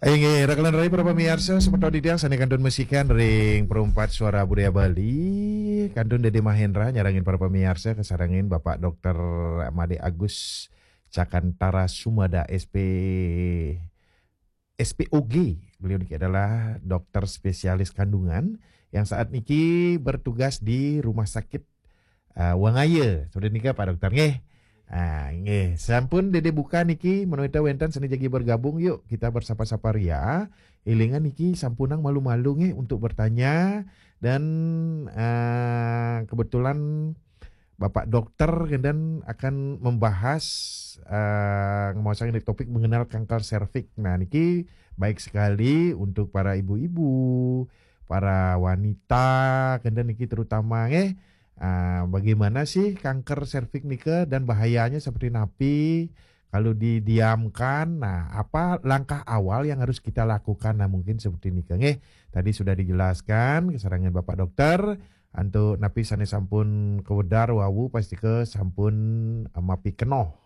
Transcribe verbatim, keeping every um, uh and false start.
Inggih, raka lan rai para pamiarsa, semeton titiang sane kantun masikian ring Perumpat Suara Budaya Bali, kantun Dede Mahendra nyarengin para pamiarsa kasarengin Bapak Dokter Made Agus Cakantara Sumada, S P, S P O G. Beliau niki adalah dokter spesialis kandungan yang saat niki bertugas di Rumah Sakit uh, Wangaya. Sudah nika Pak Dokter nggih. Ah, nggih, sampun Dede buka niki, menawi wenten sane jagi bergabung, yuk kita bersapa-sapa ria. Ilingan niki sampunang malu-malu nggih untuk bertanya dan uh, kebetulan Bapak Dokter kemudian akan membahas uh, ngemaosang ini topik mengenal kanker serviks. Nah, niki baik sekali untuk para ibu-ibu, para wanita, kemudian niki terutama nggih, uh, bagaimana sih kanker serviks nika dan bahayanya seperti napi kalau didiamkan. Nah, apa langkah awal yang harus kita lakukan? Nah, mungkin seperti nika nggih. Tadi sudah dijelaskan kasarengin Bapak Dokter, antuk napi sane sampun kawedar wau pastika sampun uh, mapi kenoh.